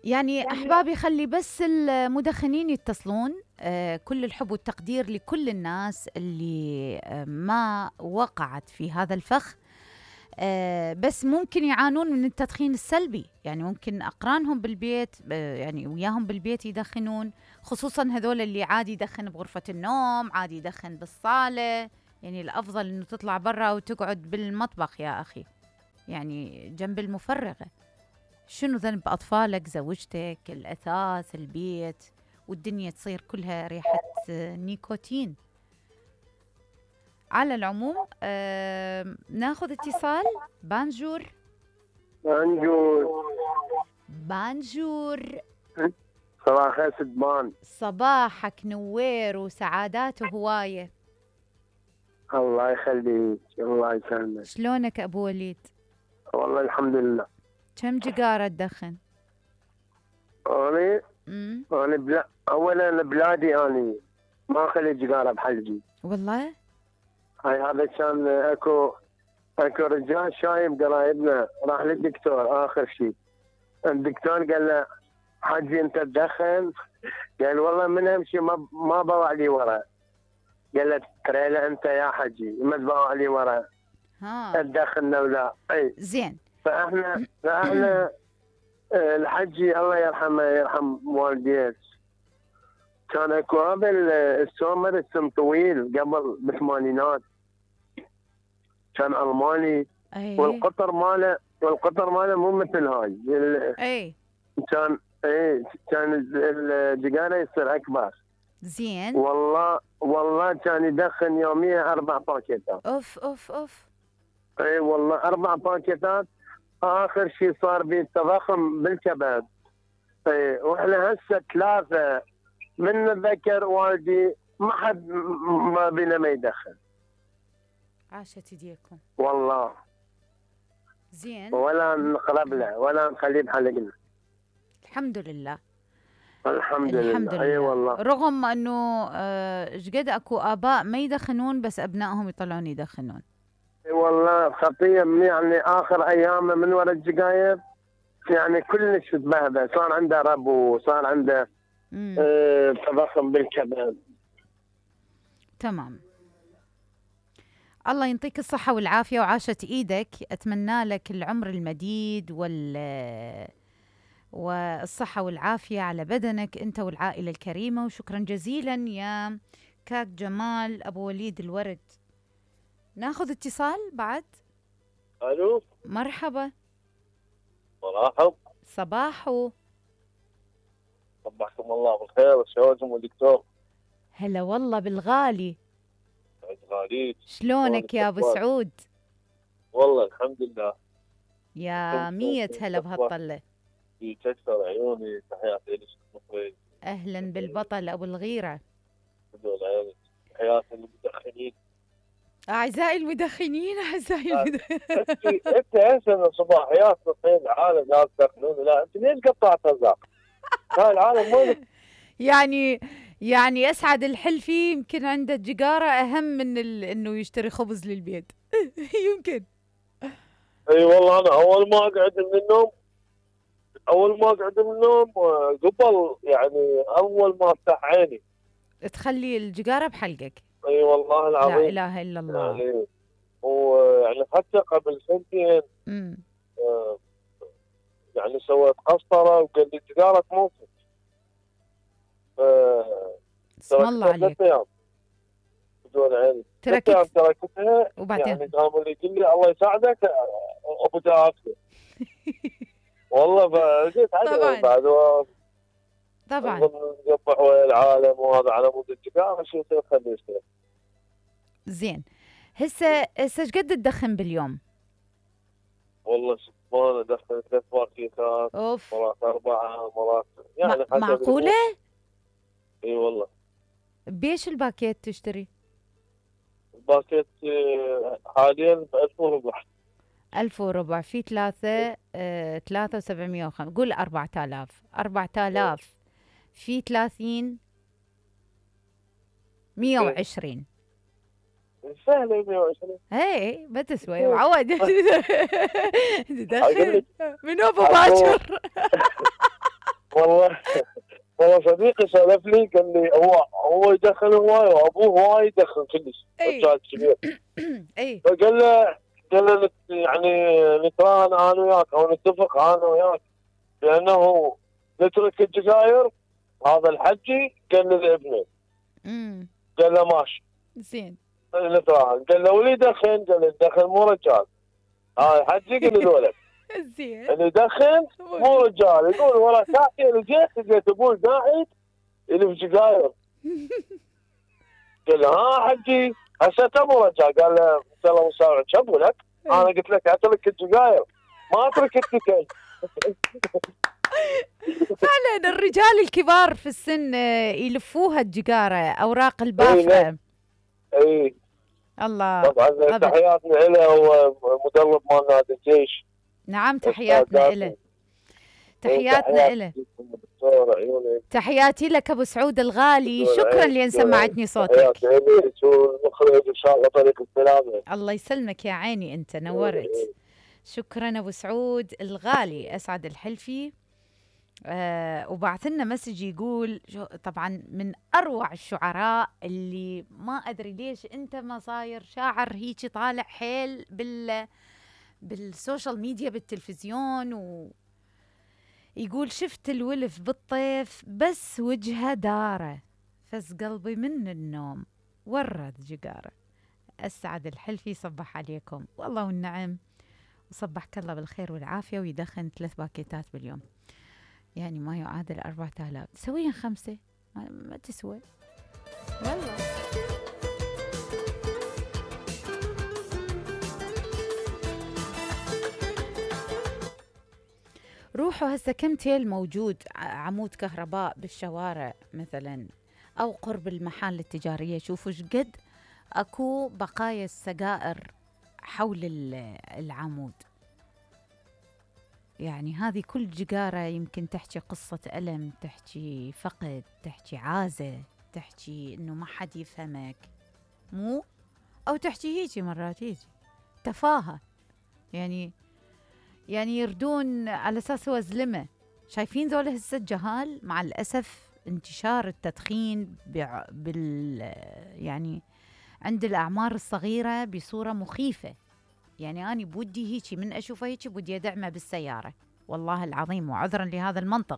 يعني أحبابي خلي بس المدخنين يتصلون. كل الحب والتقدير لكل الناس اللي ما وقعت في هذا الفخ. بس ممكن يعانون من التدخين السلبي، يعني ممكن أقرانهم بالبيت يعني وياهم بالبيت يدخنون، خصوصا هذول اللي عادي يدخن بغرفة النوم، عادي يدخن بالصالة. يعني الأفضل إنه تطلع برا وتقعد بالمطبخ يا أخي، يعني جنب المفرغة. شنو ذنب أطفالك، زوجتك، الأثاث، البيت، والدنيا تصير كلها ريحة نيكوتين. على العموم ناخذ اتصال. بانجور. بانجور. صباح خير سدبان. صباحك نوير وسعادات هواية. الله يخليك، الله يسلمك. شلونك أبو وليد؟ والله الحمد لله. كم جيجارة تدخن؟ أنا أولا بلادي أنا ما أخلي جيجارة بحلقي. والله؟ هاي هذا كان أكو رجال شايب قرايبنا راح للدكتور آخر شيء. الدكتور قال له حجي أنت تدخن؟ قال والله من أمشي ما بوع لي ورا. قال له ترى أنت يا حجي ما تبوع لي ورا. تدخن ولا أي زين. فاحنا الحجي الله يرحمه يرحم والديك كان اكو هذا السومر اسم طويل قبل بالثمانينات كان الماني. والقطر ماله مو مثل هاي. كان الجيجاره يصير اكبر. زين. والله كان يدخن يوميا 4 باكيتات. اوف. اي والله 4 باكيتات. اخر شيء صار بي تضخم بالكبد. اي واحنا هسه 3 من نتذكر والدي ما حد ما بينا ما يدخن. عاشت يديكم والله. زين. ولا نقرب له ولا نخليه بحلقنا. الحمد لله. الحمد لله. اي والله. رغم انه قد اكو اباء ما يدخنون بس ابنائهم يطلعون يدخنون. اي والله خطيه يعني اخر ايامه من وراء الجقاير يعني كلش تبهدل، صار عنده ربو، صار عنده تضخم بالكبد. تمام. الله ينطيك الصحة والعافية وعاشت ايدك. اتمنى لك العمر المديد والصحة والعافية على بدنك انت والعائلة الكريمة. وشكرا جزيلا يا كاك جمال ابو وليد الورد. ناخذ اتصال بعد. الو. مرحبا. مرحب. صباحو. صبحكم الله بالخير الشواجم والدكتور. هلا والله بالغالي. غاليك. شلونك يا ابو سعود؟ والله الحمد لله. يا 100 هلا بهالطلة. يكسر عيوني. تحياتي لك المخرج. اهلا بالبطل ابو الغيرة. تحياتي للمدخنين. اعزائي المدخنين. انت هسه صباحيات تصير العالم ناس يدخنون. لا انت ليش قطعت رزاق؟ هاي العالم وين؟ يعني اسعد الحلفي يمكن عنده الجيجارة اهم من انه يشتري خبز للبيت. يمكن. اي والله انا اول ما اقعد من النوم قبل يعني اول ما افتح عيني تخلي الجيجارة بحلقك. اي والله العظيم. لا اله الا الله. يعني ويعني حتى قبل سنتين يعني سويت قسطرة وقال لي الجيجارة تموتك. اسم الله عليك. بدون عيني. تركتها وبعدين يعني قام اللي يقول لي الله يساعدك ابو جافي. والله فجيت عليه بعد طبعا نقبح ويا العالم وهذا على مود الجيجارة شو يصير خليه يشتغل. زين. هسه ايش قد تدخن باليوم؟ والله سبحان ادخن 3 باكيتات. مرات 4 مرات يعني معقولة؟ اي والله. بيش الباكيت تشتري؟ الباكيت حاليا ب 1400. 1400 في 3705. قول 4000 في 30 120. سهلة 120. ايه ما تسوي معود. تدخل من ابو باكر. والله والله صديقي سولف لي قال لي هو يدخن هواي وابوه هواي يدخن كلش اي رجال كبير. اي فقال له يعني نتراهن انا وياك او نتفق انا وياك بانه نترك السجاير. هذا الحجي قال لابنه، امم قال له ماشي زين. نتراهن. قال له واللي يدخن، قال له يدخن مو رجال. هذا الحجي قال للولد زين. اللي يدخن مو رجال. يقول ورا ساعتين لقيت ابوي قاعد يلف سجاير. قال له ها حجي هسه مو رجال. قال له انت الله مسامحك شبو لك، انا قلت لك اترك السجاير ما اترك التكل. فعلا الرجال الكبار في السن يلفوها الجقارة أوراق البافرة. اي الله. طبعا تحياتنا له، هو مدرب مال نادي الجيش. نعم تحياتنا له، تحياتنا له. تحياتي لك ابو سعود الغالي، شكرا لان سمعتني صوتك. تحياتي لك والمخرج ان شاء الله طريق السلامه. الله يسلمك يا عيني، انت نورت. شكرا ابو سعود الغالي، اسعد الحلفي. وبعث لنا مسج يقول طبعا من اروع الشعراء اللي ما ادري ليش انت ما صاير شاعر هيك طالع حيل بالسوشيال ميديا بالتلفزيون. يقول شفت الولف بالطيف بس وجهه داره، فز قلبي من النوم ورد جقاره. اسعد الحلفي صبح عليكم والله والنعم، وصبحك الله بالخير والعافيه. ويدخن 3 باكيتات باليوم، يعني ما يعادل 4000. سويا 5 ما تسوى والله. روحوا هسه كم تيل موجود عمود كهرباء بالشوارع مثلا او قرب المحال التجاريه، شوفوا شقد اكو بقايا السجائر حول العمود. يعني هذه كل جقارة يمكن تحكي قصة ألم، تحكي فقد، تحكي عازة، تحكي إنه ما حد يفهمك، مو أو تحكي هيجي مرات هيجي تفاهة. يعني يردون على أساس هو زلمة. شايفين ذولا هسه الجهال مع الأسف انتشار التدخين يعني عند الأعمار الصغيرة بصورة مخيفة. يعني أنا بودي هيجي من أشوفه هيجي بودي أدعمه بالسيارة والله العظيم، وعذرا لهذا المنطق.